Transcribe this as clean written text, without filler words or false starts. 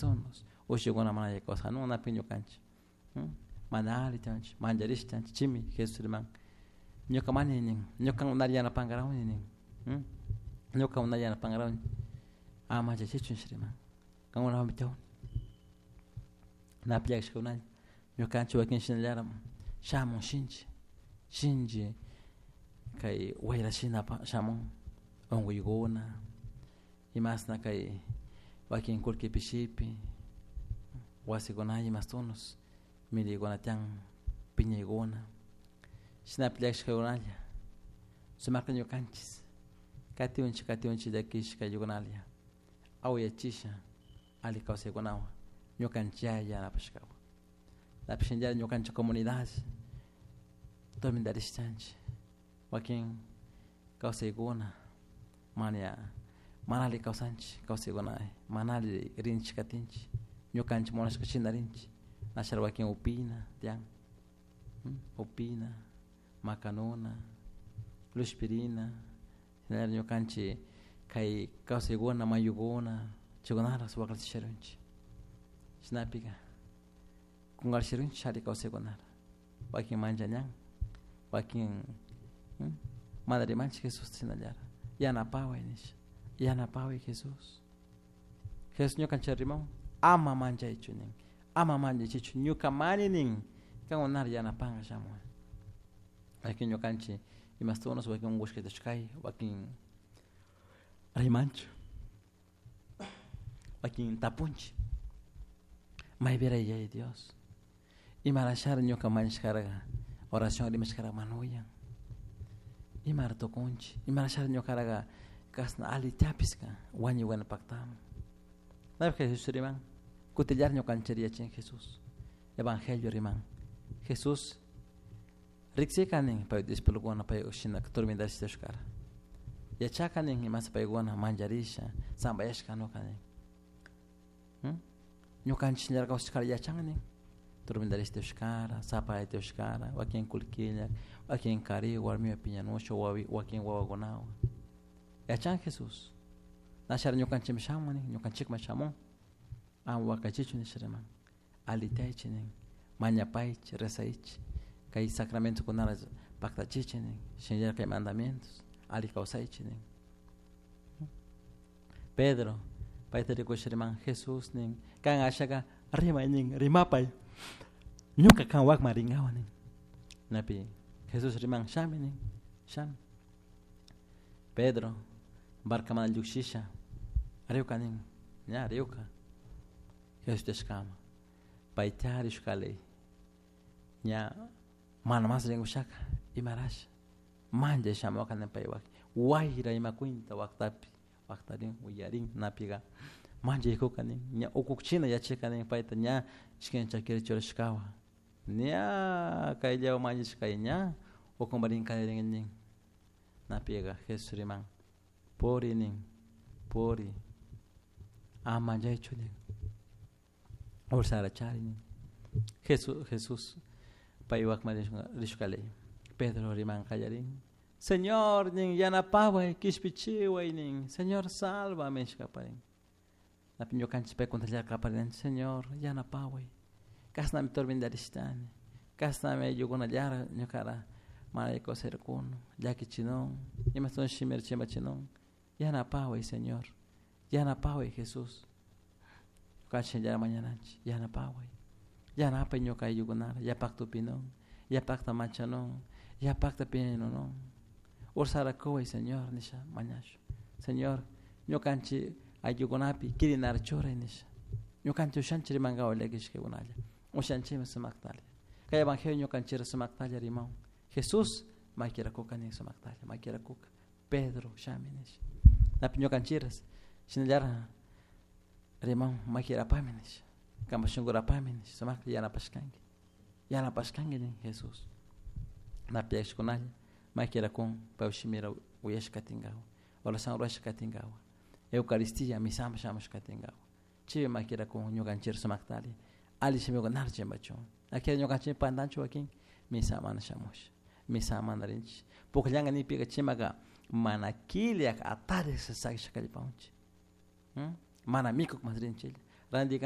Imastunos ushikuna mana alli kawsanun napi ñukanchik mana alli tiyanchik mancharish tiyanchik chimi Jesús riman ñuka mani nin ñuka unari yanapankarawni nin ñuka unari yanapankarawni ama manchachichu nish riman kankunawanmi tiyawni napi llakishkakunalla ñukanchik wakin shinallara shamun shinchi shinchi kay wayra shina shamun unkuykuna imasna kay wakin kullki pishipi wasikuna imastunos millaykuna tiyan piñaykuna shinapi llakishkakunalla sumakta ñukanchis katiunchik katiunchik llakishka ayllukunalla awayachisha alli kawsaykunawan ñukanchik yanapashkawan napish shinallara ñukanchik comunidad tormentarishtanchik wakin kawsaykuna mana mana alli kawsanchik kawsaykuna mana alli rinchik katinchik ñukanchik munashka shina rinchik nashara wakin upina tiyan upina makanuna lushpirina shinallara ñukanchik kay kawsaykuna mayukuna chaykunata wakllichisharunchik shinapika kunkarishirunchik alli kawsaykunata wakin manchañan wakin mana rimanchik Jesusta shinallara yanapaway nisha yanapaway Jesús Jesús ñukanchik rimawan ama manchaychu nin ama manchachichu ñuka mani nin kankunata yanapanka shamun wakin ñukanchik imastunas wakin unkushkatashkay wakin rimanchik wakin tapunchik maypira Yaya Dios imarashara ñuka mañashkarka oración rimashkarka mana uyan imara tukunchik imarashara ñukaraka kashna alli tiapiska wañuykuna paktamun napi Jesús riman kutillar ñukanchik yachin Jesús evangelio riman Jesús riksika nin pay discipulokuna pay shina tormentashkara yachaka nin imasa paykuna mancharisha zampayashka kanuka nin ñukanchik shinallara kawsashkara yachan nin tormentarishtushkara zapaytushkara wakin kullkilla wakin kari warmiwan piñanusha wakin wawakunawan yachan Jesús nashara ñukanchikman shamun nin ñukanchikman shamun ama wakachichu nisha riman alli tiyaychik nin mañapaychik rezaychik kay sacramentokunata paktachichik nin shinallara kay mandamientos alli kawsaychik nin Pedro payta rikusha riman Jesús nin kan ashaka rimay nin rimapay ñuka kanwakman rinkawa nin napi Jesús riman shami nin shami Pedro barcamanta llukshisha riwka nin ña riwka Jesús tiyashkama payta rishkalay ña mana mas rinkushaka imarasha manchay shamuka nin pay wayra ima cuenta waktapi waktarin uyarin napika manchaykuka nin ña ukukchina yachayka nin payta ña ishkay chakira churashkawan ña kayllawan manchashka ña ukunparin kallarin nin napika Jesús riman puri nin puri ama manchaychu nin ursara chari nin Jesús Jesús paywakman rishkalay Pedro riman kallarin Señor nin yanapaway kishpichiway nin Señor sálvame nishkaparin napi ñukanchik paykunata kaparinanchik Señor yanapaway kashnami tormentarishkani kashnami ayllukunallara ñukara mana alli kawsayrkuna llakichinun imashton shimira chimbachinun yanapaway Señor yanapaway Jesús ñukanchik shinallara mañananchik yanapaway yanapay ñuka ayllukunata yapakta upinun yapakta machanun yapakta piñanunun ursara kuway Señor nisha mañashun Señor ñukanchik ayllukunapi kirinara churay nisha ñukanchik ushanchik rimankawan llakishkakunalla ushanchikmi sumaktalla kay evangelio ñukanchikra sumaktalla rimawan Jesús makirakuka nin sumaktalla makirakuka Pedro shami nisha napi ñukanchikras shinallara rimawan makirapami nisha kanpak shunkurapami nisha sumakta yanapashkanki yanapashkanki nin Jesús napi llakishkunalla makirakun paypak shimira uyashka katinkawan oración rurashka katinkawan Eucaristía misaman shamushka katinkawan chaypi makirakun ñukanchik sumaktalla alli shimikunata chimbachun akilla ñukanchik pantanchik wakin misa mana shamusha misa mana rinchik pukllanka nipika chimaka mana killak atarik sakisha kallpawanchik mana mikuk mas rinchiklla rantika.